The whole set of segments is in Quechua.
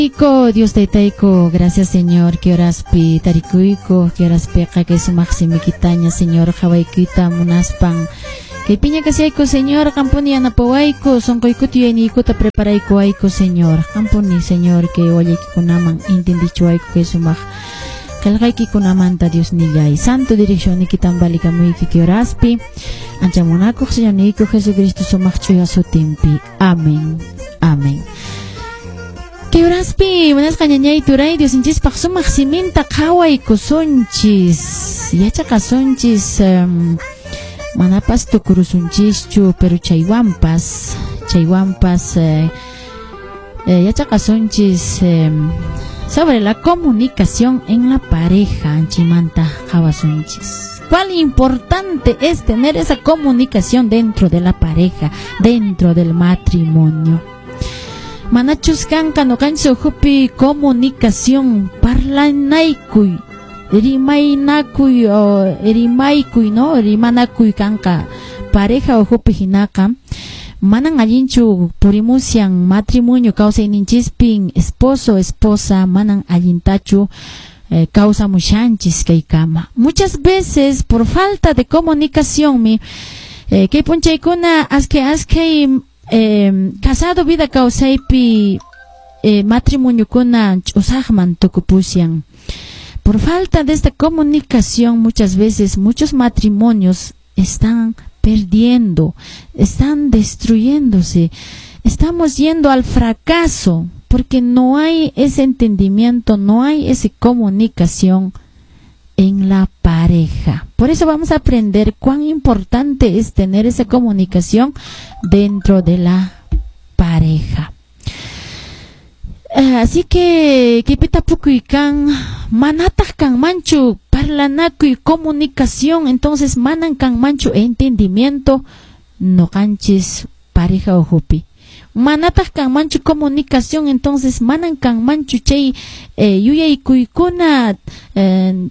Dios taytayku, gracias, Señor, kay horaspi tarikuyku, kay horaspiqa kay sumaq simikitaña, Señor, qhawaykuyta munaspan. Kaypiña kashayku, Señor, qampuni yanapawayku, sunquykuta yuyayniykuta preparaykuwayku, Señor. Qampuni, Señor, kay wallaykikunaman entendichiwayku kay sumaq qillqaykikunamanta, Dios nillay. Santo direccionnikitan valikamuyki kay horaspi. Ancha munakuq Señorniyku Jesucristo sumaq ch'uya sutinpi. Amén. Amén. Kay horaspi munasqa ñañay turay Diosninchispaq sumaq siminta qhawaykusunchis, yachaqasunchis, manapas tukurusunchischu, pero chaywanpas yachaqasunchis sobre la comunicación en la pareja, anchimanta qhawasunchis. Cuán importante es tener esa comunicación dentro de la pareja, dentro del matrimonio. Manachus kanqa nuqanchis ukhupi comunicación, parlanaykuy, rimaynakuy, o rimaykuy, no? Rimanakuy kanqa pareja ukhupi hinaqa, manan allinchu purimushan matrimonio kawsayninchispin, esposo, esposa, manan allintachu kawsamushanchis kaykama. Muchas veces por falta de comunicación mi kay p'unchaykuna askay askay casado vida kawsaypi matrimoniokuna ch'usaqman tukupushan. Por falta de esta comunicación, muchas veces muchos matrimonios están perdiendo, están destruyéndose, estamos yendo al fracaso porque no hay ese entendimiento, no hay esa comunicación en la pareja. Por eso vamos a aprender cuán importante es tener esa comunicación dentro de la pareja. Así que kaypi tapukuy kan, manataq kanmanchu parlanakuy, comunicación, entonces manan kanmanchu entendimiento nuqanchis pareja ukhupi. Manataq kanmanchu comunicación, entonces manan kanmanchu chay yuyaykuykuna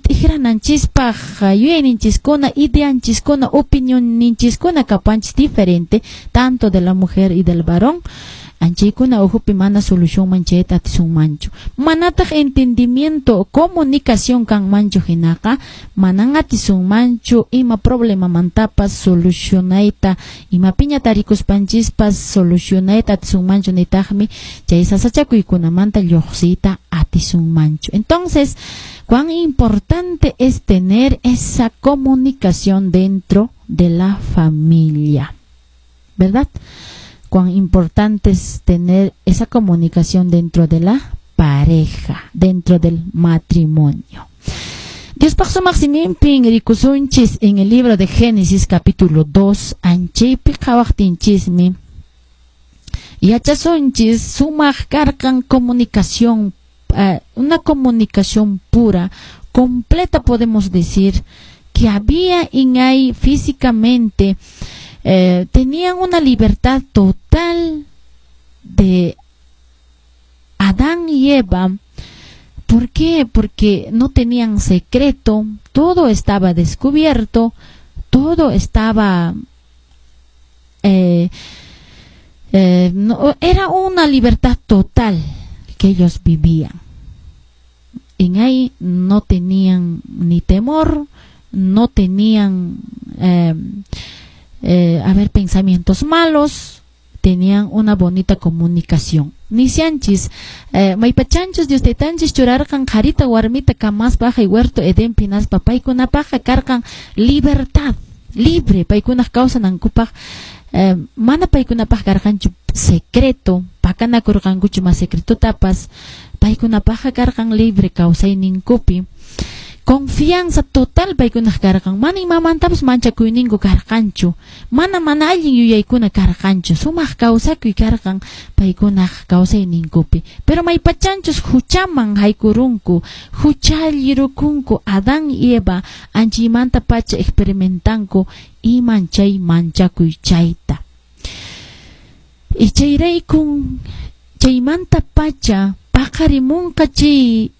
t'ikrananchispaq, yuyayninchiskuna, ideanchiskuna, opinionninchiskuna kapanchis diferente, tanto de la mujer y del varón. Anchaykuna ukhupi mana solucionman chayta atisunmanchu. Manataq entendimiento, comunicación kanmanchu hinaqa, manan atisunmanchu ima problemamantapas solucionayta, ima piña tarikuspanchispas solucionayta atisunmanchu, nitaqmi chay sasachakuykunamanta lluqsiyta atisunmanchu. Entonces, cuán importante es tener esa comunicación dentro de la familia, ¿verdad? Cuán importante es tener esa comunicación dentro de la pareja, dentro del matrimonio. Diospaq sumaq siminpin rikusunchis en el libro de Génesis capítulo 2, anchaypi qhawaqtinchismi yachasunchis sumaq karqan comunicación, una comunicación pura, completa, podemos decir, que había en ahí físicamente, tenían una libertad total de Adán y Eva. ¿Por qué? Porque no tenían secreto, todo estaba descubierto, todo estaba... no, era una libertad total que ellos vivían. En ahí no tenían ni temor, no tenían a ver, pensamientos malos, tenían una bonita comunicación. Nisyanchis, maypachanchus Dios taytanchis churarqan qharita warmita kamaspa huerto Edenpi hinaspa paykunapaqqa karqan libertad, libre, paykunaq kawsanankupaq, mana paykunapaq karqanchu secreto, pakanakurqankuchu ma secretotapas, paykunapaqqa karqan libre kawsayninkupi. Confianza total paykunaq karqan, mana imamantapas manchakuyninku karqanchu, mana allin yuyaykuna karqanchu, sumaq kawsakuy karqan paykunaq kawsayninkupi. Pero maypachanchus huchaman haykurunku, huchallirukunku Adán y Eva, anchaymanta pacha experimentanku iman chay manchakuy chayta. Y chayraykun chaymanta pacha paqarimunqa chay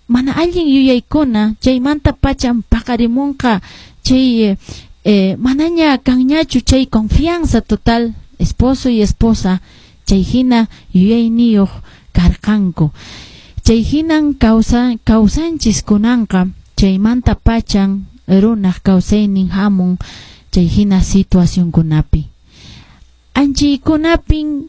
mana allin yuyaykuna, chaymanta pachan paqarimunqa chay manaña kanñachu chay confianza total esposo y esposa. Chay hina yuyayniyuq karqanku. Chay hinan kawsanchis kunanqa, chaymanta pachan runaq kawsaynin hamun chay hina situacionkunapi. Anchaykunapin